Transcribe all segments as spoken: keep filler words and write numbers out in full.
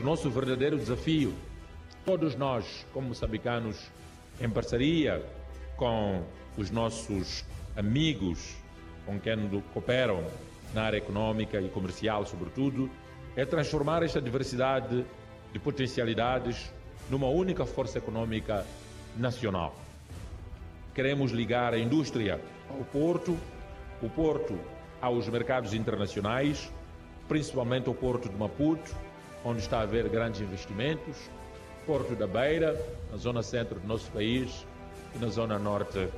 O nosso verdadeiro desafio, todos nós, como moçambicanos, em parceria com os nossos amigos com quem cooperam na área econômica e comercial, sobretudo, é transformar esta diversidade de potencialidades numa única força econômica nacional. Queremos ligar a indústria ao porto, o porto aos mercados internacionais, principalmente ao porto de Maputo, onde está a haver grandes investimentos, Porto da Beira, na zona centro do nosso país, e na zona norte,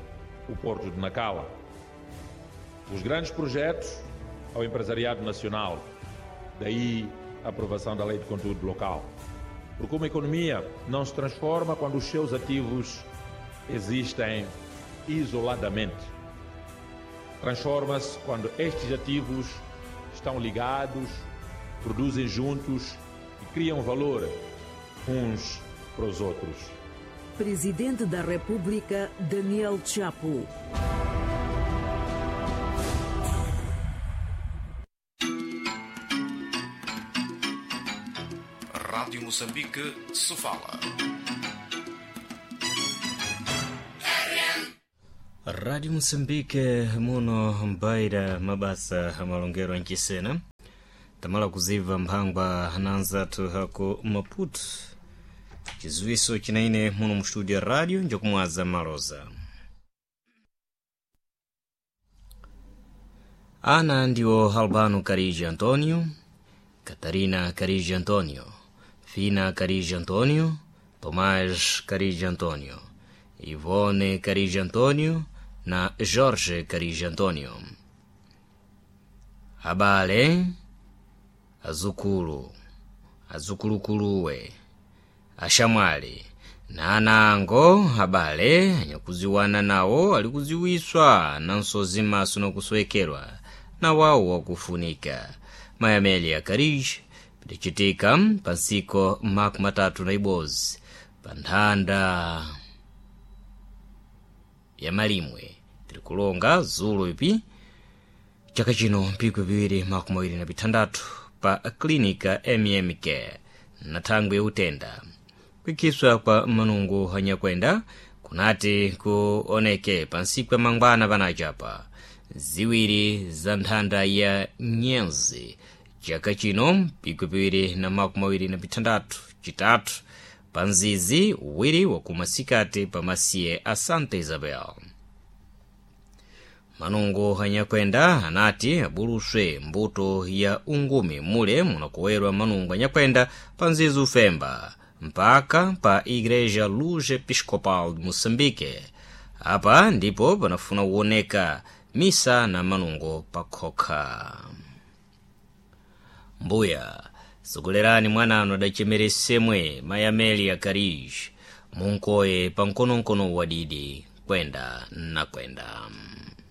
o Porto de Nacala. Os grandes projetos ao empresariado nacional, daí a aprovação da Lei de Conteúdo Local. Porque uma economia não se transforma quando os seus ativos existem isoladamente. Transforma-se quando estes ativos estão ligados, produzem juntos e criam valor uns para os outros. Presidente da República, Daniel Chapo. Rádio Moçambique, Sofala. Rádio Moçambique muno mbaira mabasa amalongero anchisena tamala kuziva mphangwa ananzathu hako Maputo, chiziwiso chinaine muno mu studio ya radio njokumwaza maloza. Ana ndiwo Albano Carige Antonio, Catarina Carige Antonio, Fina Carige Antonio, Tomás Carige Antonio, Ivone Carige Antonio na Jorge Carige Antonio. Abale, azukulu, azukulukuluwe, axamwali na ana ango abale anyakuziwana nawo ali kuziwiswa na nsozi maso nokusowekerwa na wawo wakufunika. Mayi Amelia Carige pidicitika pa ntsiko makumi matatu na ibodzi pa nthanda ya malimwe tirikulonga zulo ipi chaka chino mpiko piwiri makumi awiri na pithandathu pa klinika M M K na thangwi yautenda kuikhiswa kwa manungu anyakwenda kunati kuoneke pa ntsiku ya mangwana panachapa ziwiri za nthanda ya nyenzi chaka chino mpiko piwiri na makumi awiri na pithandathu chitatu pa nzizi uwiri wakumasikati pa masiye a Santa Isabel. Manungu anyakwenda anati abuluswe mbuto ya ungumi mule munakuwerwa manungu anyakwenda pa nzizi ufemba mpaka pa Igreja Luz Episcopal de Moçambique. Apa ndipo panafuna kuoneka misa na manungo pakhokha. Mbuya sogolerani mwananu adacemere semwe Mayi Amelia Carige munkoye pa mkonomkono wadidi kwenda na kwenda.